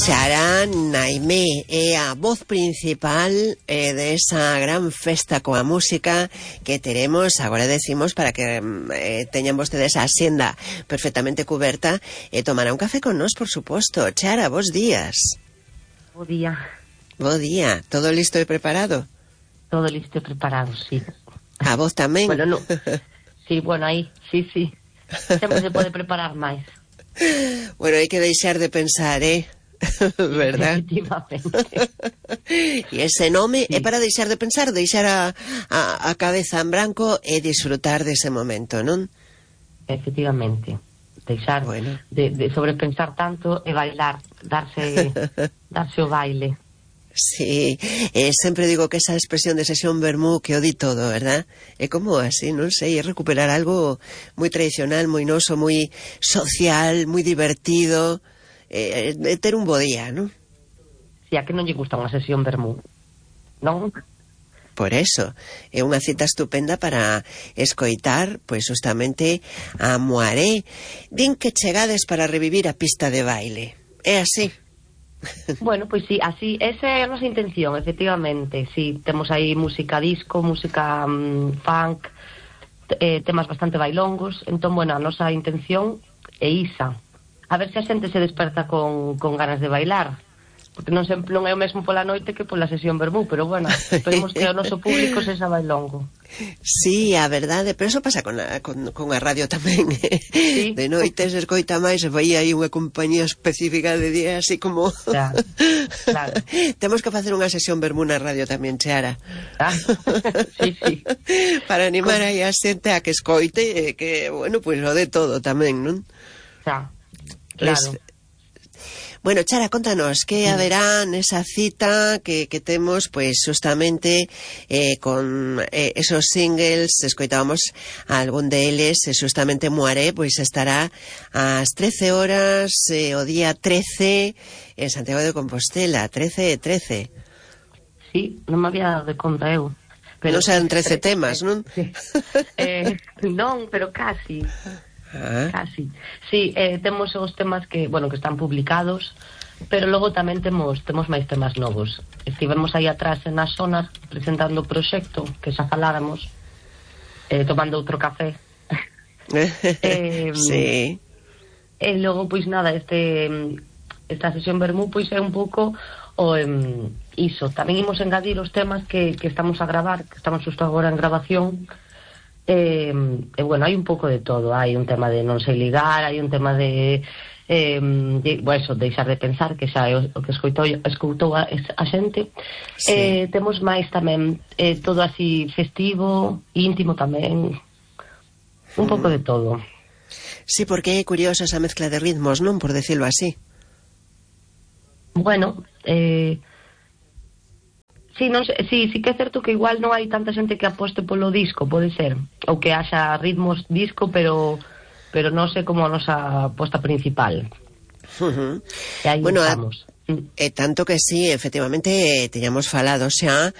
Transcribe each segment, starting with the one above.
Chara Naimé é a voz principal de esa gran festa coa música que teremos, agora decimos, para que teñan vostedes a xenda perfectamente cuberta e tomar un café con nós, por suposto. Chara, bos días. Bo día. Bo día. Todo listo e preparado? Todo listo e preparado, sí. A vos tamén? Bueno, no. Sí, bueno, aí, sí. Sempre se pode preparar máis. Bueno, hai que deixar de pensar, verdad? Efectivamente. E ese nome sí. É para deixar de pensar, deixar a cabeza en branco e disfrutar dese momento, non? Efectivamente. Deixar de sobrepensar tanto e bailar, darse o baile. Sí, sempre digo que esa expresión de sesión vermú que o di todo, verdad? É como así, non sei, é recuperar algo moi tradicional, moi noso, moi social, moi divertido, ter un bo día, non? Si, a que non lle gusta unha sesión vermú, non? Por eso, é unha cita estupenda para escoitar, pois justamente a Moaré. Din que chegades para revivir a pista de baile. É así? Bueno, pois sí, así, esa é a nosa intención, efectivamente. Sí, temos aí música disco, música funk, temas bastante bailongos. Entón, bueno, a nosa intención é isa. A ver se a xente se desperta con ganas de bailar. Porque non é o mesmo pola noite que pola sesión vermú, pero bueno, esperemos que o noso público sexa bailongo. Sí, a verdade, pero eso pasa con a radio tamén. Sí. De noite se escoita máis, se vai aí unha compañía específica de día, así como... Claro. Temos que facer unha sesión vermú na radio tamén, Chara. Sí. Para animar aí a xente a que escoite, que, bueno, pois o de todo tamén, non? Claro. Bueno, Chara, contanos, que haberá nesa cita que temos, pois, justamente con esos singles, escoitábamos algún deles, justamente Moaré, pois estará ás 13 horas, o día 13, en Santiago de Compostela, 13 e 13. Sí, non me había dado de conta eu. Pero non serán 13 temas, non? Sí. Non, pero casi. Casi. Sí, temos os temas que están publicados, pero logo tamén temos máis temas novos. Estivemos aí atrás na zona presentando o proxecto que xa faláramos, tomando outro café. Sí. E logo, pois nada, esta sesión vermú pois é un pouco o iso. Tamén imos engadir os temas que estamos a gravar, que estamos xusto agora en grabación. Bueno, hai un pouco de todo. Hai un tema de non sei ligar, hai un tema de deixar de pensar, que xa é o que escoitou a xente. Sí. Temos máis tamén todo así festivo, íntimo tamén, un pouco de todo. Sí, porque é curiosa esa mezcla de ritmos, non? Por decirlo así. Bueno, sí, non sei, sí que é certo que igual non hai tanta xente que aposte polo disco, pode ser, ou que haxa ritmos disco, pero non sei como a nosa aposta principal. E aí estamos. Tanto que sí, efectivamente, teñamos falado xa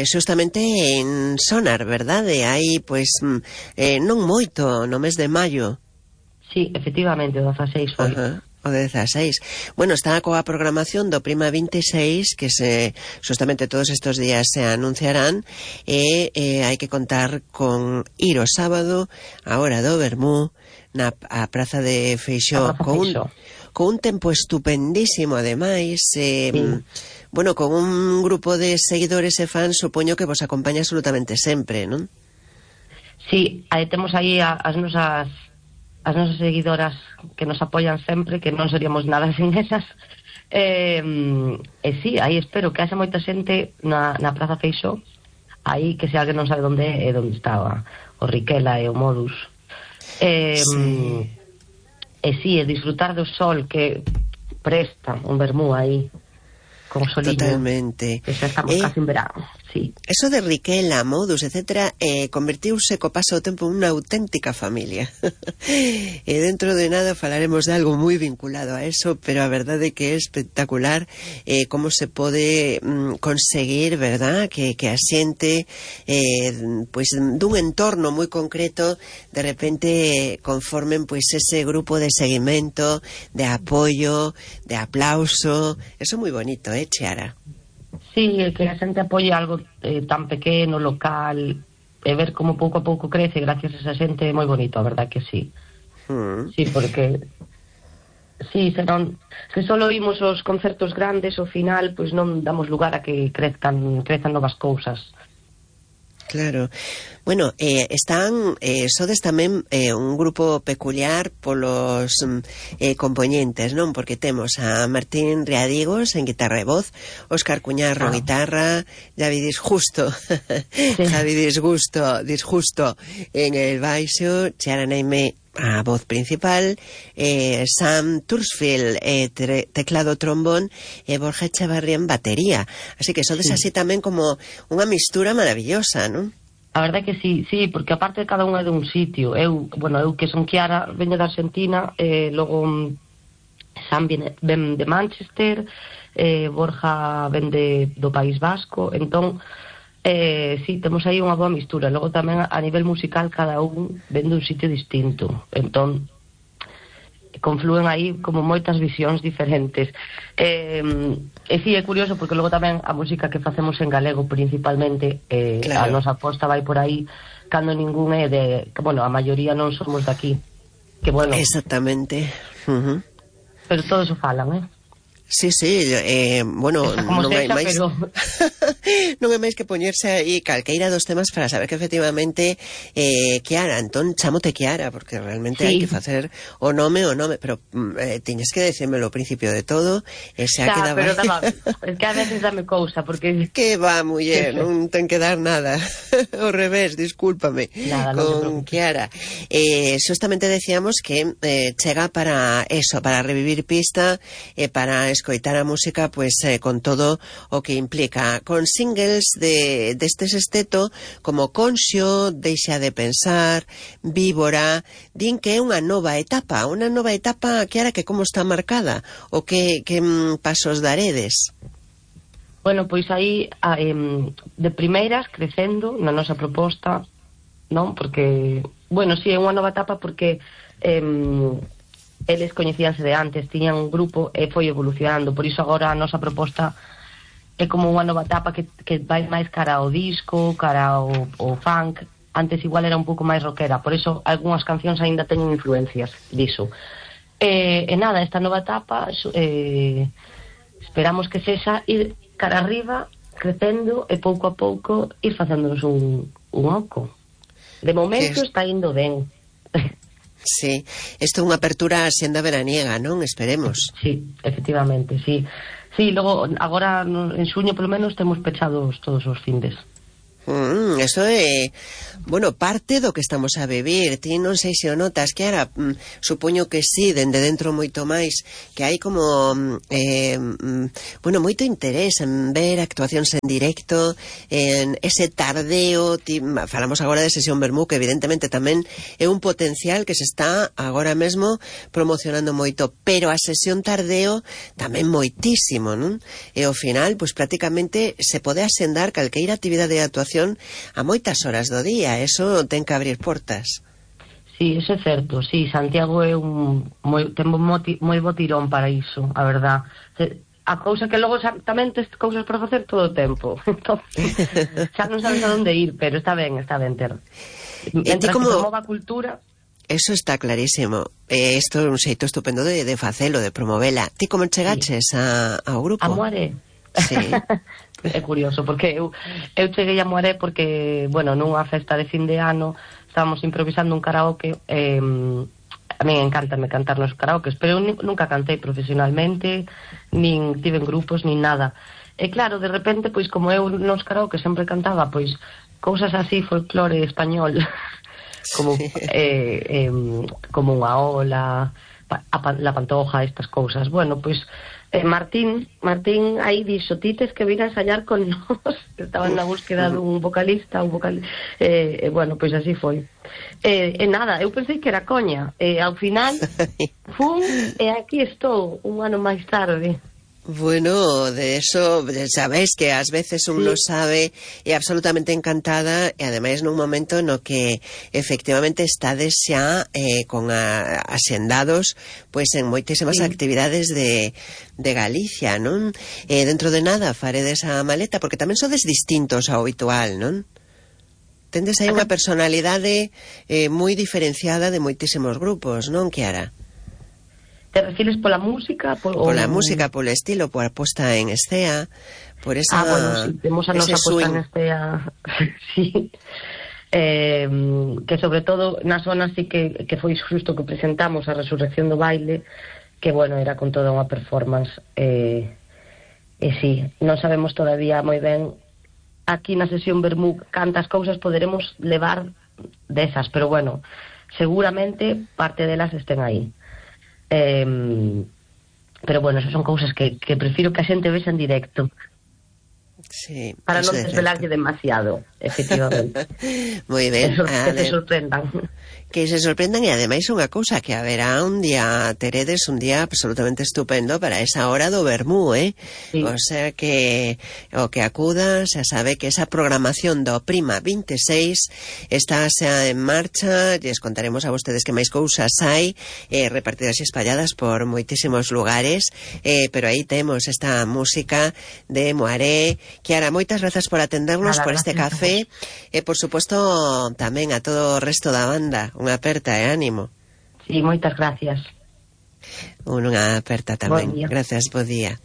justamente en Sonar, verdade? Hai, pois, non moito, no mes de maio. Sí, efectivamente, o 16 foi. O 16. Bueno, está coa programación do Prima 26 que justamente todos estos días se anunciarán e hai que contar con ir o sábado a hora do vermú a Praza de Feixó con un tempo estupendísimo ademais, bueno, con un grupo de seguidores e fans, supoño que vos acompaña absolutamente sempre, non? Sí, temos aí as nosas seguidoras que nos apoian sempre, que non seríamos nada sin esas. Sí, aí espero que haxa moita xente na Praza Feixó, aí que se alguén non sabe onde é onde estaba o Riquela e o Modus. Sí, disfrutar do sol que presta un vermú aí con soliño. Totalmente. Que xa estamos casi en verano. sí. Eso de Riquela, Modus, etcétera, convertiuse co paso do tempo unha auténtica familia. E dentro de nada falaremos de algo moi vinculado a eso, pero a verdade é que é espectacular como se pode conseguir, verdad, que a xente pois dun entorno moi concreto de repente conformen pois ese grupo de seguimento, de apoio, de aplauso. Eso é moi bonito, Chiara? Sí, que a xente apoie algo tan pequeno, local, e ver como pouco a pouco crece gracias a esa xente é moi bonito, a verdad que sí. Sí, porque sí, senón, se só oímos os concertos grandes, ao final, pois non damos lugar a que crezan novas cousas. Claro. Bueno, sodes tamén un grupo peculiar polos compoñentes, non? Porque temos a Martín Riadigos en guitarra e voz, Óscar Cuñarro guitarra, Javi Disjusto Javi Disjusto en el baixo, Chiara Naime a voz principal, Sam Tursfield teclado trombón e Borja Echavarría en batería. Así que sodes así tamén como unha mistura maravillosa, non? A verdade que sí, porque aparte de cada unha é de un sitio. Eu que son Chiara, veño da Argentina, logo Sam ven de Manchester, Borja ven do País Vasco, entón sí, temos aí unha boa mistura. Logo tamén a nivel musical cada un ven dun sitio distinto, entón conflúen aí como moitas visións diferentes. E sí, é curioso porque logo tamén a música que facemos en galego principalmente, claro, a nosa aposta vai por aí cando ningún é de, bueno, a maioría non somos daqui, que bueno, exactamente. Pero todos o falan, Sí, bueno, non hai máis pero... non hai máis que poñerse aí calqueira dos temas para saber que efectivamente Chiara, entón chamote Chiara, porque realmente hai que facer o nome, pero tiñes que decírmelo ao principio de todo, xa quedaba... pero daba, es que a veces dame cousa, porque... Que va, muller, non ten que dar nada, ao revés, discúlpame, nada, con Chiara. Justamente decíamos que chega para eso, para revivir pista, para escoitar a música pois con todo o que implica, con singles deste sexteto como Conxo, Deixa de pensar, Víbora. Din que é unha nova etapa que ahora que como está marcada o que pasos daredes. Bueno, pois aí de primeiras crecendo na nosa proposta, non? Porque, bueno, si é unha nova etapa porque eles coñecíanse de antes, tiñan un grupo e foi evolucionando, por iso agora a nosa proposta é como unha nova etapa que vai máis cara ao disco, cara ao funk. Antes igual era un pouco máis rockera, por iso algunhas cancións aínda teñen influencias diso. E nada, esta nova etapa esperamos que sexa ir cara arriba, crecendo e pouco a pouco ir facéndonos un oco. De momento está indo ben. Sí, isto é unha apertura senda veraniega, non? Esperemos. Sí, efectivamente, sí. Sí, logo, agora en xuño polo menos temos pechados todos os findes. Eso é, bueno, parte do que estamos a vivir. Ti non sei se o notas, que ahora supoño que sí, dende dentro moito máis, que hai como bueno, moito interés en ver actuacións en directo, en ese tardeo. Falamos agora de Sesión Vermú, que evidentemente tamén é un potencial que se está agora mesmo promocionando moito, pero a sesión tardeo tamén moitísimo, non? E ao final, pois prácticamente se pode asendar calqueira actividade de actuación a moitas horas do día. Eso ten que abrir portas. Sí, eso é certo. Sí, Santiago é ten moi bo tirón para iso, a verdad. A cousa que logo tamén tes cousas para facer todo o tempo. Xa non sabes a onde ir, pero está ben ter. Mentras como... que promova a cultura... Eso está clarísimo. Isto é un xeito estupendo de facelo, de promovela. Ti como chegaches ao grupo? A Moaré. Sí. É curioso, porque eu cheguei a Moaré porque, bueno, nunha festa de fin de ano estábamos improvisando un karaoke. A mí encántame cantar nos karaokes, pero eu nunca cantei profesionalmente, nin tive en grupos, nin nada. E claro, de repente, pois como eu nos karaokes sempre cantaba, pois cousas así, folclore español, como como unha ola, la Pantoja, estas cousas. Bueno, pois Martín aí dixo, ti tes que vir a ensayar con nós, que estaban na búsqueda dun vocalista, bueno, pois así foi. Nada, eu pensei que era coña, ao final fun, e aquí estou un ano máis tarde. Bueno, de eso sabéis que ás veces un non sabe, e absolutamente encantada, e ademais nun momento no que efectivamente estades xa con axendados pois en moitísimas actividades de Galicia, non? Dentro de nada faredes a maleta, porque tamén sodes distintos ao habitual, non? Tendes aí unha personalidade moi diferenciada de moitísimos grupos, non, Kiara? Te refires pola música? Pola música, polo estilo, pola posta en escena, por esa... bueno, sí, temos a nosa posta en escena, sí. Que sobre todo na zona sí que foi xusto que presentamos a Resurrección do Baile, que, bueno, era con toda unha performance, sí, non sabemos todavía moi ben aquí na sesión Vermú cantas cousas poderemos levar desas, pero, bueno, seguramente parte delas estén aí. Pero bueno, esas son cousas que prefiro que a xente vexa en directo, sí, para non desvelarlle demasiado, efectivamente. Moi ben, que se sorprendan. Que se sorprendan, e ademais unha cousa, que haberá un día, teredes un día absolutamente estupendo para esa hora do Vermú, sí. O sea que o que acuda xa sabe que esa programación do Prima 26 está xa en marcha. Lles contaremos a vostedes que máis cousas hai repartidas e espalladas por moitísimos lugares, pero aí temos esta música de Moaré. Kiara, moitas grazas por atendernos, por este café, e por suposto tamén a todo o resto da banda unha aperta e ánimo. Sí, moitas gracias. Unha aperta tamén. Gracias, bo día.